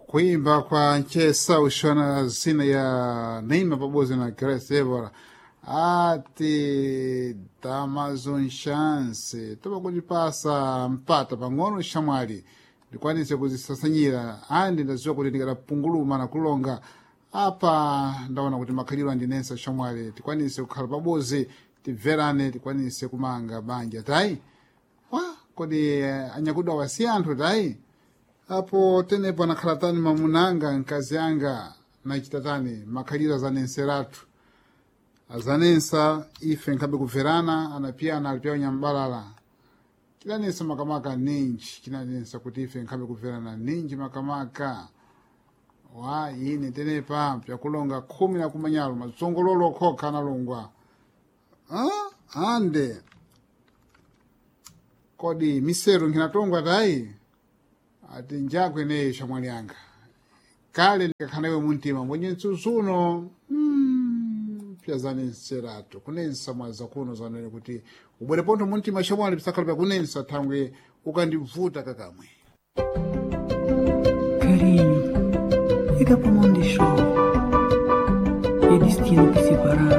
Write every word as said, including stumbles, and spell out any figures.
Kuimba kwa nchesa ushona zina ya Neima pamoja na Grace Evora ati Amazon chance topa kutipasa mpata pang'ono shamwali ndikwanise kuzisasanyira andi ndaziwa kuti ndikadapunguluma na kulonga apa ndaona kuti makhaliro andinensa shamwali tikwanise kukhala pabodzi tibverane tikwanise kumanga banja tayi wa kodi eh, anyakudwa wasi anthu tayi apo tenepo anakhala tani mamunanga mkazi anga nachita tani makhaliro azanenseratu azanensa ife nkhabe kubverana anapiyana alipiya unyambalala chidanensa makamaka ninji chinanensa kuti ife nkhabe kubverana ninji makamaka wa ine tenepa pyakulonga khumi na kumanyalo matsongololo okhokha analongwa ah, ande kodi miseru nkhinatongwa tayi ati njakwe neyo shamwali anga kale ndikakhanawe muntima mwenye mtsutsuno mm, pyazanenseratu kunensa mwaza kuno zanene kuti ubwere pontho muntima shamwali pisakhala pyakunensa thangwe ukandivuta kakamwe. Carinho, fica pa mão de chove. É destino que separamos.